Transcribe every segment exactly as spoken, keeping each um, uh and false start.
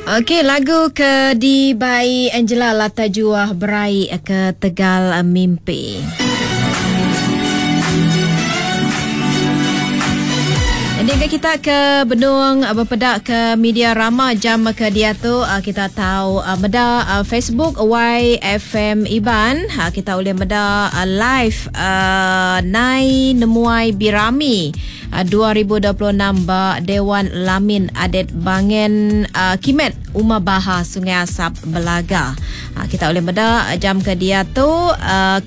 Okey, lagu ke dibai Angela Lata Juah Berai ke Tegal Mimpi. Jadi kita ke Benung berpedak ke media rama jam ke dia tu, kita tahu meda Facebook Y F M Iban, kita boleh meda live Nai Nemuai Birami dua ribu dua puluh enam ba Dewan Lamin Adet Bangen Kimet Uma Baha Sungai Asap Belaga. Kita boleh meda jam ke dia tu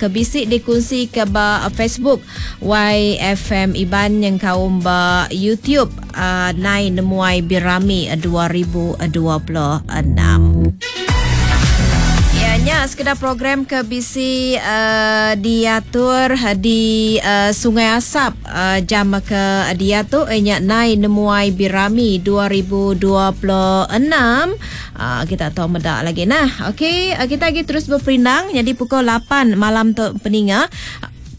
ke bisi dikongsi ke ba Facebook Y F M Iban yang kaum ba YouTube uh, Nai Nemuai Birami dua ribu dua puluh enam. Ya, nya sekedar program ke bisi uh, diatur di uh, Sungai Asap uh, jam ke dia tu nya Nai Nemuai Birami dua ribu dua puluh enam. Uh, kita tahu medak lagi. Nah, okey, uh, kita lagi terus berperindang jadi pukul lapan malam tu peninga.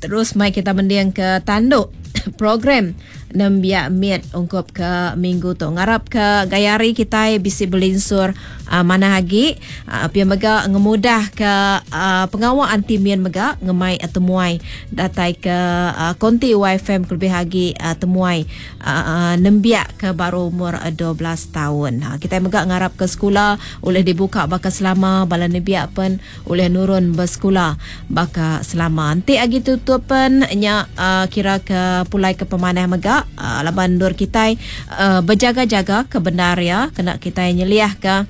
Terus mai kita mending ke tanduk program Nembiak Miet ungkup ke minggu tu. Ngarap ke gaya hari kita bisi belinsur uh, mana lagi uh, pia mega ngemudah ke uh, pengawal anti mien mega ngemai uh, temuai datai ke uh, konti Y F M lebih lagi uh, temuai uh, uh, nembiak ke baru umur uh, dua belas tahun. Ha, kita mega ngarap ke sekolah oleh dibuka baka selama bala nembiak pen oleh nurun bersekolah baka selama. Nanti agi tutup pen nya uh, kira ke pulai ke pemanah mega. Uh, laban dur kita uh, berjaga-jaga kebenar ya kena kita nyeliah ke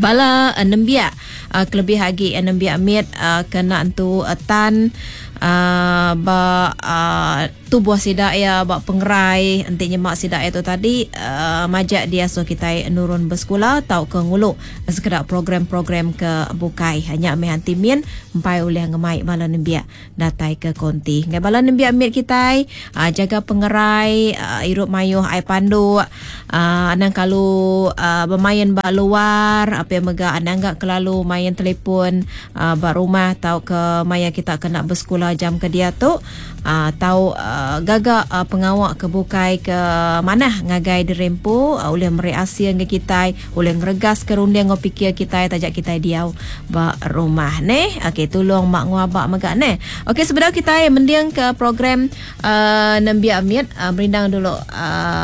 bala uh, nembiak uh, kelebih lagi uh, nembiak mit uh, kena entu uh, tan uh, ba uh, tubuh sidak ya ba pengerai enti nyemak sidak itu tadi uh, majak dia so kita nurun bersekolah tau ke nguluk sekedar program-program ke bukai hanya meh anti min empai oleh ngemai bala nembiak datai ke konti ngai bala nembiak mit kita uh, jaga pengerai uh, irup mayuh ai panduk uh, anang kalau uh, bermain ba luar apa yang mega anang gak kelalu main telefon uh, ba rumah tau ke maya kita kena bersekolah jam ke dia tu uh, tau uh, gagak uh, pengawak ke bukai ke manah ngagai dirempu uh, oleh meri asia nge kita oleh ngregas ke runding ngau pikir kita tajak kita diau ba rumah neh. Okey, tolong mak nguabak megak neh. Okey, sebenarnya kita mending ke program uh, Nembiak Miet uh, merindang dulu uh,